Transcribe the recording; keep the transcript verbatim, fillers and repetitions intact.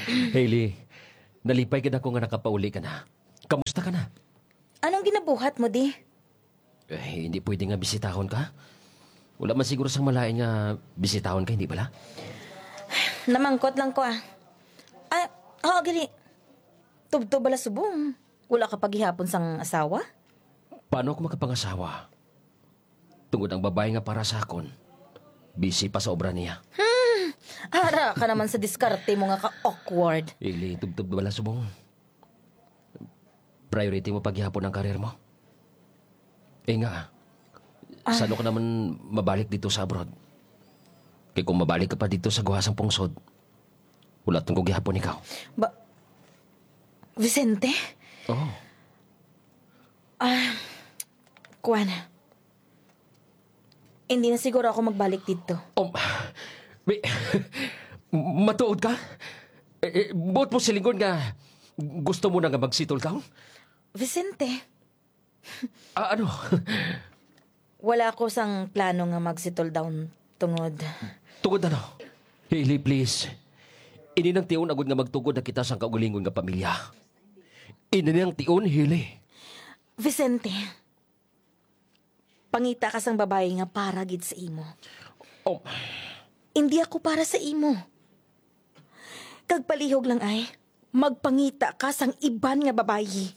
Hailey, nalipay gid ako nga nakapauli ka na. Kamusta ka na? Anong ginabuhat mo di? Eh, hindi pwede nga bisitahon ka. Wala man siguro sang malain nga bisitahon ka, hindi bala? Namangkot lang ko ah. Ah, ho, gali. Tubtob bala subong. Wala ka pa gihapon sang asawa? Paano ako makapangasawa? Tungod ang babae nga para sa akon, busy pa sa obra niya. Ara ka naman sa diskarte mo nga ka-awkward. Hailey, tubtob bala subong. Priority mo pa gihapon ang career mo. Eh nga, saan ka naman mabalik dito sa abroad? Kay kung mabalik ka pa dito sa guhasang pungsod, wala ko gihapon ikaw. Ba, Vicente? Oh, Kuan. Hindi na siguro ako magbalik dito. Um, may, matuod ka? Eh, eh, buot mo silingon nga gusto mo na nga mag-settle down? Vicente, Ah, ano? Wala ako sang plano nga mag-settle down tungod. Tungod ano? Hailey, please. Ini nang tion agod nga magtugod na kita sang kaugalingon nga pamilya. Ini nang tion, Hailey. Vicente, pangita ka sang babayi nga para gid sa imo. Oh, Hindi ako para sa imo. Kag palihog lang ay, magpangita ka sang iban nga babayi.